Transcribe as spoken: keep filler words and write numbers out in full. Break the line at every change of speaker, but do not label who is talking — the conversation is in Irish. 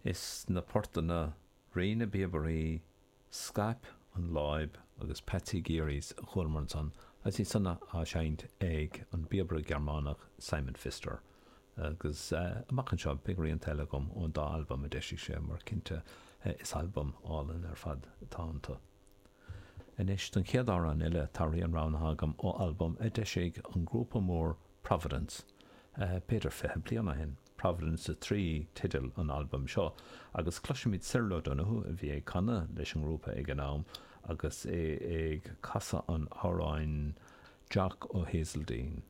Is na portanna Rí na bPíobairí, Scaip an Láib agus Patsy Geary's a chualamar ansan, agus iad san á seinnt ag an bpíobaire Gearmánach Simon Pfister. Agus amach anseo beidh rianta eile agam ón dá albam a d'eisigh sé mar cinnte is albaim álainn ar fad atá iontu. Anois don chéad amhrán eile tá rian roghnaithe agam ó albam a d'eisigh an grúpa mór Providence b'fhéidir fiche bliain ó shin. Providence a trí teideal an albaim seo agus cloisfimid Cyril O'Donoghue a bhí ag canadh leis an ngrúpa ag an am agus é ag casadh an amhráin Jock O'Hazeldine.